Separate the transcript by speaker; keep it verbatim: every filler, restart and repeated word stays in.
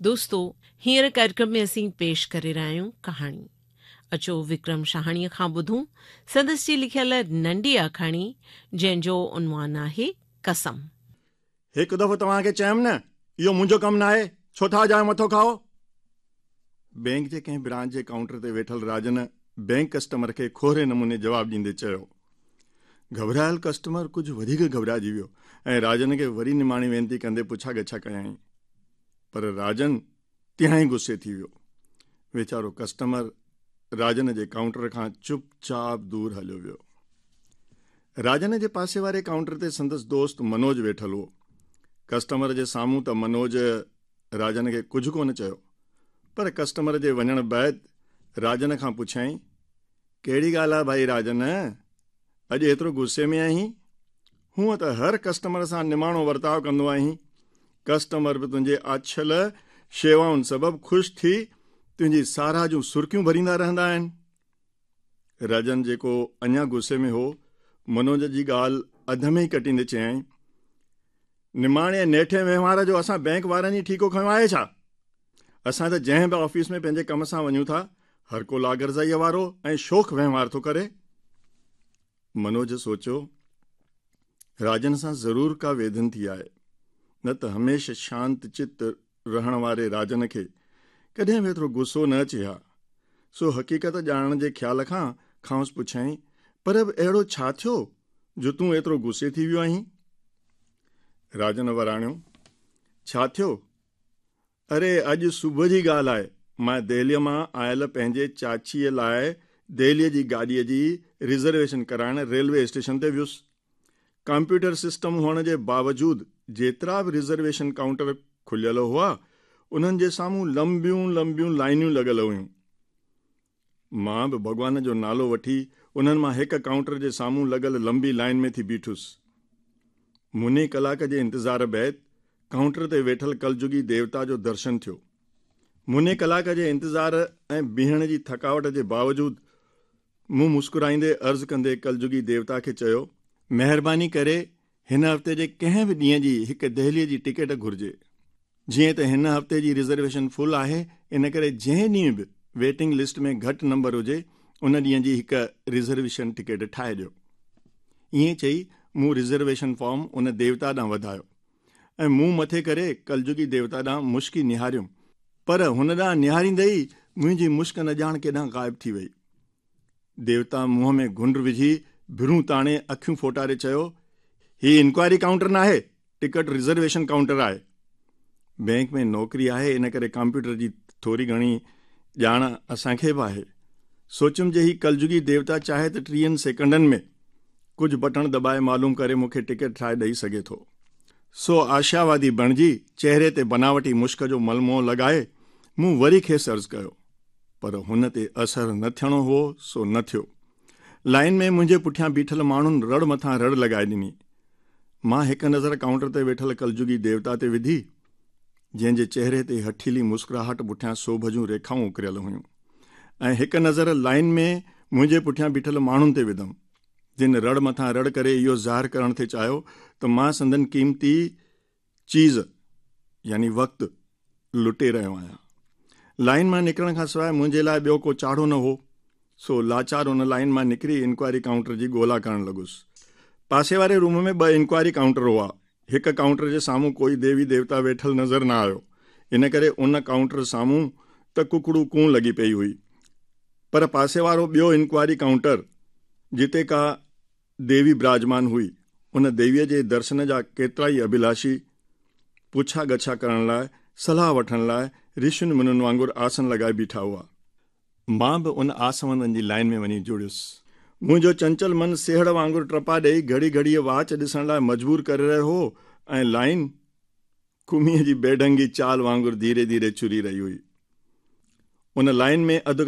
Speaker 1: دوستو هينئر ڪاريڪرم ۾ اسين پيش ڪري رهيا آهيون ڪهاڻي. اچو وڪرم شاهاڻيء کان ٻڌون سندس جي لکيل ننڍي آکاڻي جنهن جو عنوان آهي قسم.
Speaker 2: هڪ دفعو توهان کي چيم نه اهو منهنجو ڪم ناهي، ڇو ٿا اجايو مٿو کائو؟ بينڪ جي ڪنهن برانچ جي ڪائونٽر تي ويٺل راجن بينڪ ڪسٽمر کي کهري نموني جواب ڏيندي چيو. گهٻرايل ڪسٽمر ڪجهه وڌيڪ گهٻرائجي ويو ۽ راجن کي وري نماڻي وينتي ڪندي پڇا ڳڇا ڪيائين، پر راجن تهائين غصي ٿي ويو. ويچارو ڪسٽمر راجن جي ڪائونٽر کان چپ چاپ دور هليو ويو. راجن جي پاسي واري ڪائونٽر تي سندس دوست منوج ويٺل هو. ڪسٽمر جي سامهون ته منوج راجن کي ڪجهه ڪونه چيو، پر ڪسٽمر جي وڃڻ بعد راجن کان پڇيائين، ڪهڙي ڳالهه آهي ڀائي راجن، اڄ ايترو غصي ۾ آهين؟ هونء ته هر ڪسٽمر سان نماڻو ورتاء ڪندو آهين، ڪسٽمر به تنهنجي آڇيل شيوائن سبب خوش ٿي تنهنجي ساراهه جون سرڪيون ڀريندا رهندا آهن. راجن جيڪو اڃا غصي ۾ هو، منوج جي ڳالهه اڌ ۾ ئي ڪٽيندي چيائين، نماڻي ۽ نيٺي وهنوار جو اسان بينڪ وارن ئي ٺيڪو کنيو آهي ڇا؟ اسان ته جنهن به آفيس ۾ پنهنجي ڪم سان وڃون ٿا، هر ڪو لاغرضائيء وارو ۽ شوخ وهنوار ٿو ڪري. منوج سوچيو، راجن سان ضرور ڪا ويڌن ٿي آهي، نه ته هميشه شانت چت رهڻ واري راجن کي ڪڏهن به ايترو غصو نه اچي ها. سو حقيقت ڄاڻڻ جي خيال کان کانئس پڇيائين، پر به اهڙو ڇا ٿيو جو تون ايترو غصي ٿي ويو آهين؟ راجن وراڻيو، ڇا ٿيو؟ اري اڄ صبح جي ڳالهه آهي، مان دهليء مان آيل پنهنجي چاچيء لاء دهليء جي گاڏيء جي رزرويشن ڪرائڻ ريلوي اسٽيشن تي ويس. ڪمپيوٽر سسٽم هئڻ جي باوجود جيترا به رزرويشن ڪائونٽر کليل هئا، انهن جي سامهون لمبيون لمبيون لائنيون لڳل هيون. مان به ڀڳوان جو نالو وٺي انهن مان هڪ ڪائونٽر جي سامهون لڳل لمبي لائن ۾ ٿي بيٺس. مني ڪلاڪ جي انتظار بعد ڪائونٽر تي ويٺل ڪلجڳي ديوتا جو درشن ٿيو. مني ڪلاڪ جي انتظار ۽ بيهڻ جي ٿڪاوٽ جي باوجود مون مسڪرائيندي عرض ڪندي ڪلجڳي ديوتا کي چيو، مهرباني ڪري هن هفتي جي ڪنهن به ڏينهن جي هڪ دهليء جي ٽڪيٽ گهرجي. جيئن ته هن هفتي جي رزرويشن فل آهي، ان ڪري جنهن ڏينهن به ويٽنگ لسٽ ۾ گهٽ نمبر هجي، ان ڏينهن جي هڪ رزرويشن ٽڪيٽ ٺاهي ڏيو. ائين چئي مون رزرويشن فارم ان ديوتا ڏانهن وڌايو ۽ منهن مٿي ڪري ڪلجڳي ديوتا ڏانهن مشڪي نهاريم، پر هن ڏانهن نهاريندي ئي منهنجي مشڪ نه ڄاڻ ڪيڏانهن غائب ٿي وئي. ديوتا منهن ۾ گهنڊ وجهي ڀرون تاڻي اکيون ڦوٽاري چيو، هي انڪوائري ڪائونٽر ناهي، ٽڪيٽ رزرويشن ڪائونٽر آهي. بينڪ ۾ نوڪري آهي، ان ڪري ڪمپيوٽر جي ٿوري گهڻي ڄاڻ اسان کي به آهي. سوچيم جي هي ڪلجڳي ديوتا چاهي ته ٽيهن سيڪنڊن ۾ ڪجهه بٽڻ دٻائي معلوم ڪري مون کي ٽڪيٽ ٺاهي ڏئي سگهي ٿو. سو آشاوادي بڻجي چهري تي بناوٽي مشڪ جو ملمو لڳائي مون وري کيس عرض ڪيو، پر هن تي اثر نه ٿيڻو هو سو نه ٿيو. لائن ۾ منهنجي پٺيان بيٺل ماڻهن رڙ مٿان رڙ لڳائي ڏني. مان هڪ نظر ڪائونٽر تي ويٺل ڪلجڳي ديوتا تي وڌي، جنهن جي چهري تي هٺيلي مسڪراهٽ پٺيان سوڀ جون ريکائون اڪريل هيون، ۽ هڪ نظر لائن ۾ منهنجي پٺيان بيٺل ماڻهن تي وڌم، جن رڙ مٿان رڙ ڪري اهو ظاهر ڪرڻ ٿي چاهيو ته مان سندن قيمتي چيز يعني وقت لٽي رهيو آهيان. لائن مان نڪرڻ کان سواء منهنجي لاء ٻيو ڪو چاڙهو نه هو، سو لاچار ان لائن مان نڪري انڪوائري ڪائونٽر جي ڳولا ڪرڻ لڳس. پاسي واري روم ۾ ٻه انڪوائري ڪائونٽر هئا. هڪ ڪائونٽر جي سامهون ڪوئي ديوي ديوتا ويٺل نظر نه آيو، ان ڪري ان ڪائونٽر سامهون ته ڪڪڙو ڪون لڳي پئي هئي، پر پاسي وارو ٻيو انڪوائري ڪائونٽر جتي ڪا ديوي براجمان هئي، ان ديويء جي درشن جا ڪيترائي اڀلاشي پڇا ڳڇا ڪرڻ لاء، صلاح وٺڻ لاء رشين منين وانگر آسن لڳائي بيٺا هئا. مان به ان آسوندن جي لائن ۾ وڃي جڙيس. منهنجو چنچل من سيهڙ وانگر ٽپا ڏيئي گهڙي گهڙيء واچ ڏسڻ لاء مجبور ڪري رهيو هو ۽ لائن ڪميء جي بيڍنگي چال وانگر ڌيري ڌيري چري رهي هئي. ان لائن ۾ اڌ